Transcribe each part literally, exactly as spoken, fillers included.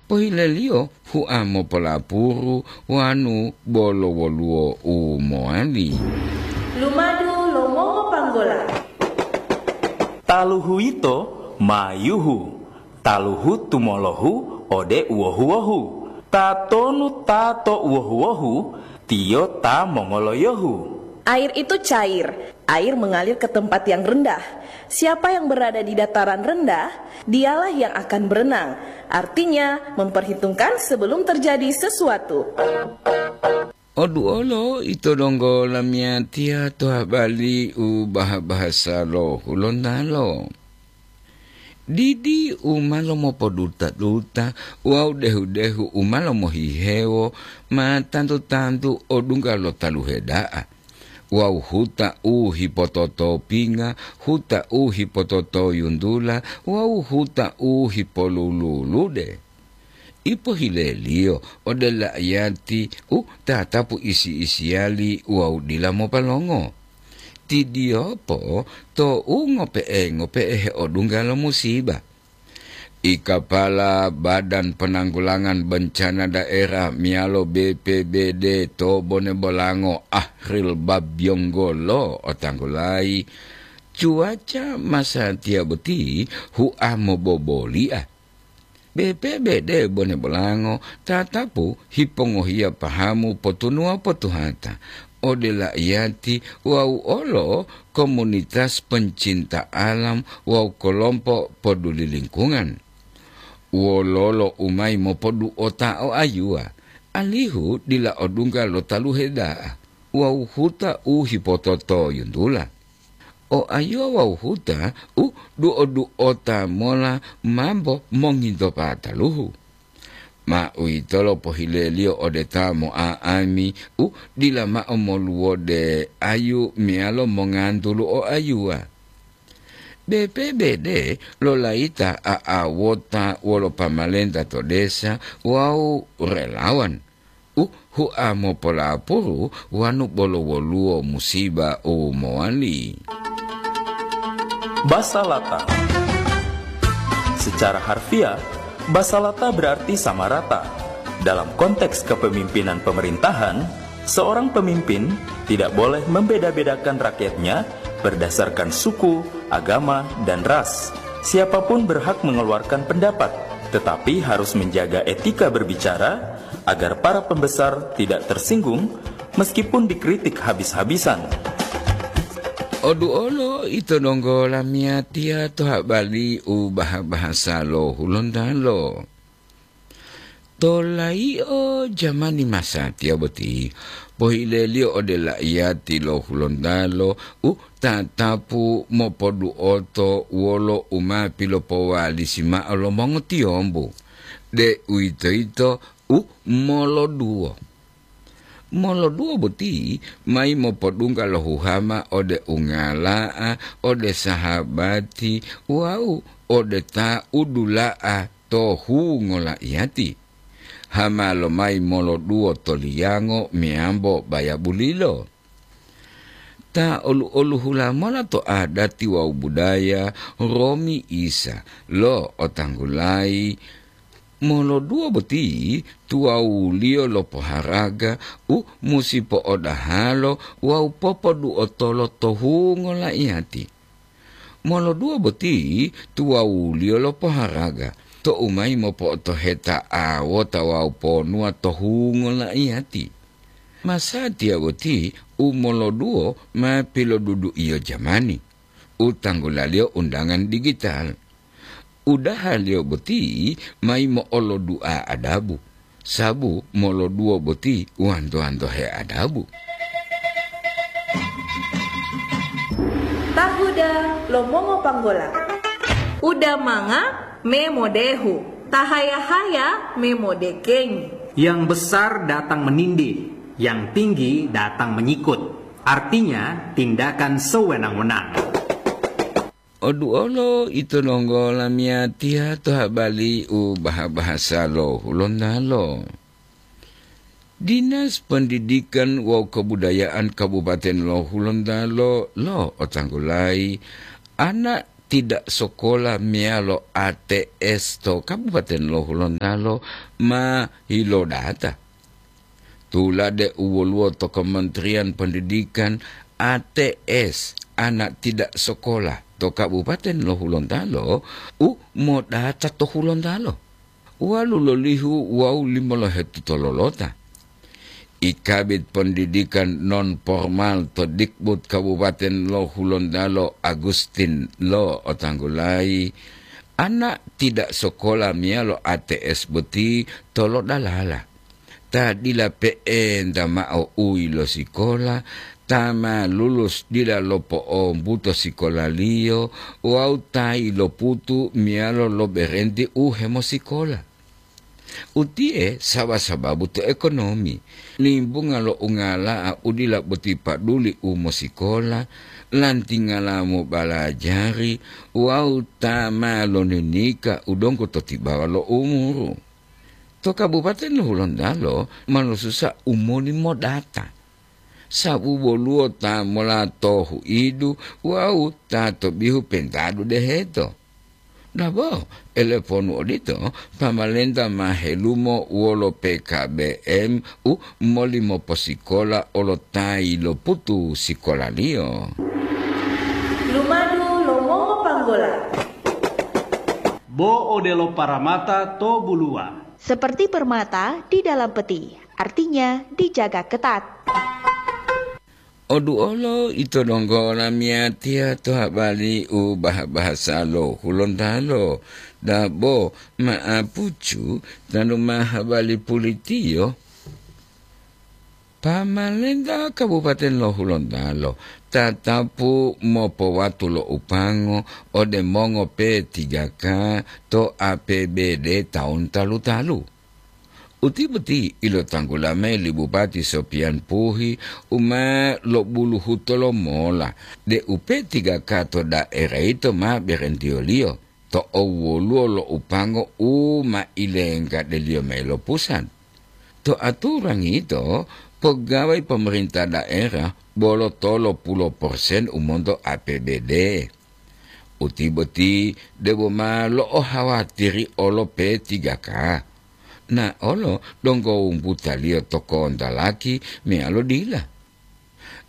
Pohileliyo hua mopolapuru wanu bolo woluwo u mowali. Lumadu lo mongopanggola. Taluhu yito ma yuhu, taluhu tumolohu ode uwohu-wohu. Tatonu ta to uwohu-wohu, tiyo ta mongoloyohu. Air itu cair. Air mengalir ke tempat yang rendah. Siapa yang berada di dataran rendah, dialah yang akan berenang, artinya memperhitungkan sebelum terjadi sesuatu. Oduolo ito donggo lamiyatiya to habali u baha-bahasa lo Hulontalo. Didi u ma lomopoduta-duta wawu dehu-dehu u ma lomohihewo ma tantu-tantu odungga lo taluhe da'a, wawu huta u hipototopinga, huta u hipototoyuntula wawu huta u hipolululude. Ipohileliyo ode la'iyati u tatapu isi-isiyali wawu dila mopalongo. Tidiyopo tou ngope'e-ngope'e heodungga lo musiba. I kapala Badan Penanggulangan Bencana Daerah meyalo B P B D to Bone Bolango, Ahril Babyonggolo, otanggulayi, cuaca masatiya boti hua mobobolia. B P B D Bone Bolango tatapu hipongohiya pahamu potunuwa potuhata ode la'iyati wawu olo komunitas pencinta alam wawu kolompo poduli lingkungan. Wololo u mayi mopoduota o ayuwa, alihu dila odungga lo taluhe da'a wawu huta u hipototoyuntula. O ayuwa wawu huta u duo-duota mola mambo monginto pataluhu. Ma uwitolo pohileliyo ode ta mo'a'ami u dila mao moluwode ayu meyalo mongantulu o ayuwa. B P B D lolayita a'awota wolo pamalenta to desa wawu relawan u hua mopolapuru wanu bolo woluwo musiba u mowali. Basalata. Secara harfiah, basalata berarti sama rata. Dalam konteks kepemimpinan pemerintahan, seorang pemimpin tidak boleh membeda-bedakan rakyatnya berdasarkan suku, agama, dan ras. Siapapun berhak mengeluarkan pendapat, tetapi harus menjaga etika berbicara agar para pembesar tidak tersinggung meskipun dikritik habis-habisan. Oduolo ito donggo lamiyatiya to habali u baha-bahasa lo Hulontalo. To layi'o jamani masatiya boti, pohileliyo ode la'iyati lo Hulontalo u tatapu mopoduoto wolo u ma pilopowalisi mao lo mongotiyombu, deuwitoyito u moloduwo. Moloduwo boti mayi mopodungga lo huhama ode ungala'a, ode sahabati wawu ode ta udula'a to hungo la'iyati. Hama lomayi moloduwo to liyango meyambo bayabulilo. Ta olu-oluhula mola to adati wawu budaya romi Isa lo otanggulayi, moloduwo boti tuwawuliyo lo poharaga u musi po'odahalo wawu popoduotolo to hungo la'iyati. Moloduwo boti tuwawuliyo lo poharaga tou mayi mopo'otoheta awota wawu ponuwa to hungo la'iyati. Masatiya boti u moloduwo ma pilodudu'iyo jamani, u tanggulaliyo undangan digital. Udahaliyo boti mayi mo'olodu'a adabu, sabu moloduwo boti wanto-wantohe adabu. Tahuda lo mongopanggola. Uda manga me modehu, tahaya-haya me modekengi. Yang besar datang menindih, yang tinggi datang menyikut. Artinya, tindakan sewenang-wenang. Oduolo ito donggo lamiyatiya to habali u baha-bahasa lo Hulontalo. Dinas Pendidikan wawu Kebudayaan Kabupaten lo Hulontalo lo otanggulayi ana tidak sekolah meyalo A T S to Kabupaten Lo Hulontalo ma hilodata. Tulade u woluwo to Kementerian Pendidikan, A T S, anak tidak sekolah to Kabupaten Lo Hulontalo u modata to Hulontalo. Walu lolihu wawu limolohetu tololota. I Kabid Pendidikan Non Formal to Dikbud Kabupaten Lo Hulontalo, Agustin Lo, otanggulayi, anak tidak sekolah meyalo A T S boti tolodalala. Ta dila pe'enta mao u yilosikola, ta ma lulus dila lopo'ombuto sikolaliyo wawu ta yiloputu meyalo loberenti u hemosikola. Utiye saba-sababu to ekonomi, limbunga lo ungala'a u dila boti paduli u mosikola, lantingala mobalajari wawu ta ma loninika u donggo to tibawa lo umuru. To Kabupaten Hulontalo ma losusa u moli modata, sababu woluwo ta mola to huidu wawu ta to bihu pentadu deheto. Dabo, eleponu odito, pamalenta ma helumo wolo P K B M u moli moposikola olo ta yiloputu sikolaliyo. Lumadu lo mongopanggola. Bo odelo paramata to buluwa. Seperti permata di dalam peti, artinya dijaga ketat. Oduolo ito donggo lamiyatiya to habali u baha-bahasa lo Hulontalo, dabo ma'apucu tanu ma habali pulitiyo. Pamalenta Kabupaten lo Hulontalo tatapu mopowatu lo upango ode mongo P tiga K to A P B D taun talu-talu. Uti boti ilotanggula mayi li Bupati Sopian Puhi u ma lobuluhuto lomola deu P tiga K to daera yito ma berentiyoliyo to owoluwo lo upango u ma ilenggade-Liyo mayi lo pusat. To aturangi yito, pogawayi pomarenta daera bolo tolo puluh persen u monto A P B D. Uti boti debo ma lo'ohawatiri olo P tiga K. Na olo donggo wumbutaliyo to kontalaki meyalo dila.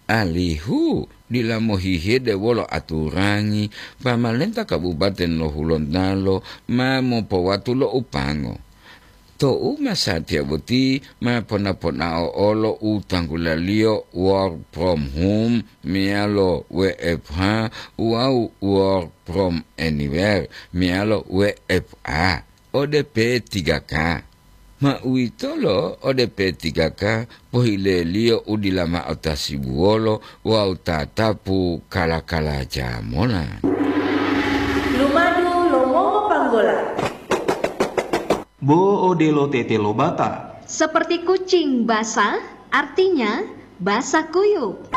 Alihu dila mohihide wolo aturangi, pamalenta Kabupaten lo Hulontalo ma mopowatu lo upango. Tou masatiya boti ma pona-ponao olo u tanggulaliyo work from home meyalo W F H wawu work from anywhere meyalo W F A ode P tiga K. Ma uwitolo ode P tiga K pohileliyo u dila mao tasibuwolo wawu tatapu kala-kalaja mola. Lumadu lo mongopanggola. Bo odelo tete lo bata. Seperti kucing basah, artinya basah kuyup.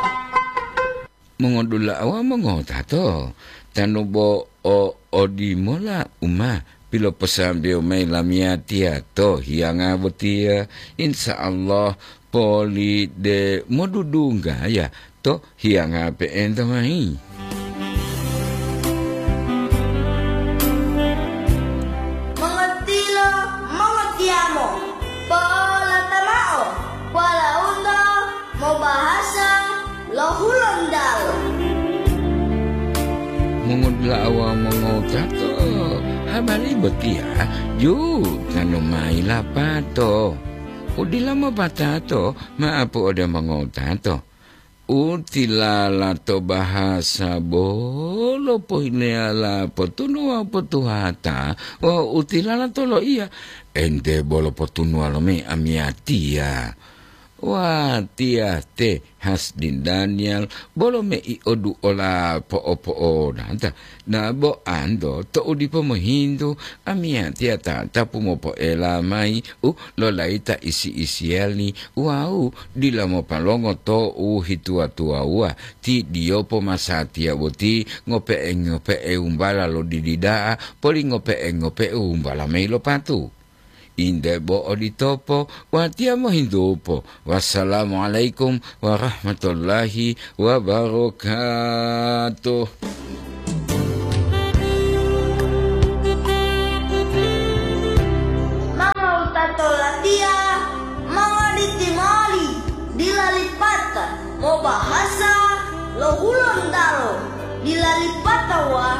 Mongodula'a wawu mongotato, tanu bo o odimola u ma piloposambewo mayi lamiyatiya to hiyanga botiya, insya Allah poli de modudunggaya to hiyanga pe'enta mayi. Mongotilo, mongotiyamo, polata mao, walaundo mobahasa lo Hulontalo. Mongotilo awa mongotato, habari botiya ju tanu mayi lapato. Udila mopatato, ma'apu ode mongotato. Utilala to bahasa bolo pohileyala potunuwa potuhata, wawu utilala to loiya, ente bolo potunuwa lomi amiyatiya. Watiya te Hasdin Daniel bolo mei odu ola po'opo'onata. Dabo anto to'u dipo mohintu, amiyatiya tatapu mopoela mayi u lolayita isi-isiyali wawu dila mopalongo to'u hituwa-tuwawuwa ti diyopo masatiya boti ngope'e-ngope'e wumbala lo didi da'a poli ngope'e-ngope'e wumbala mayi lo patu. Inde bo oditopo, watiya mohintupo. Wassalamualaikum warahmatullahi wabarakatuh. Obahasa lo Hulontalo dila lipatawa